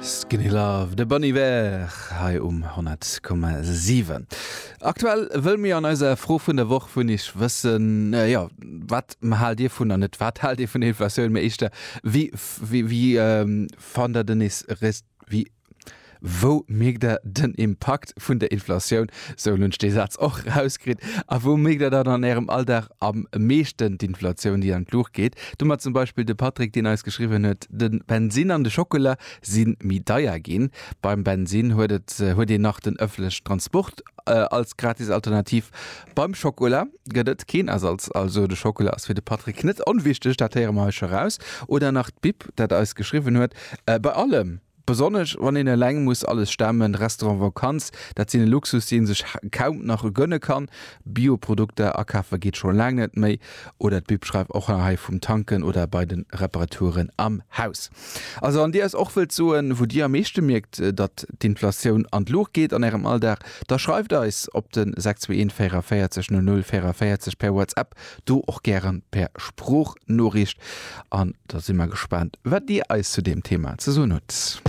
Skinny Love, de Bon Iver hei um 100,7. Aktuell wëll mir an eiser Fro vun der Woch vun Iech wëssen, jo, wat haalt Dir vun, an net wat haalt Dir vun der Inflatioun, mee éischter wéi, wéi, wéi fannt der den wéi, Wou mierkt der den Impakt vun der Inflatioun? Sou, elo hunn ech dee Saz och erauskritt. A wou mierkt der dann an Ärem Alldag am meeschten d'Inflatioun, déi an d'Luucht geet? Domat zum Beispill de Patrick, deen eis geschriwwen huet, De Bensinn an de Schockela si méi deier ginn. Beim Bensinn huet et huet een nach den ëffentlechen Transport als gratis Alternativ. Beim Schockela gëtt et keen Ersatz. Also de Schockela ass fir de Patrick net onwichteg, dat héiere mer hei scho raus. Oder nach d'Bib, dat eis geschriwwen huet, Bei allem! Besonnesch wann een eleng muss alles stemmen, Restaurant, Vakanz, dat sinn e Luxus deen sech kaum nach gönne kann. Bioprodukter akafe geet scho laang net méi. Oder d'Bib schreift och nach hei vum Tanken oder bei den Reparaturen am Haus. Also wann dir eis och wëllt soen wou dir am meeschte mierkt datt d'Inflatioun an d'Luucht geet an ärem Alldag, da schreift eis op den 621 44 00 44 per WhatsApp Do och gären per Sproochnoriicht an da si mer gespaant wat dir eis zu deem Thema ze soen hutt.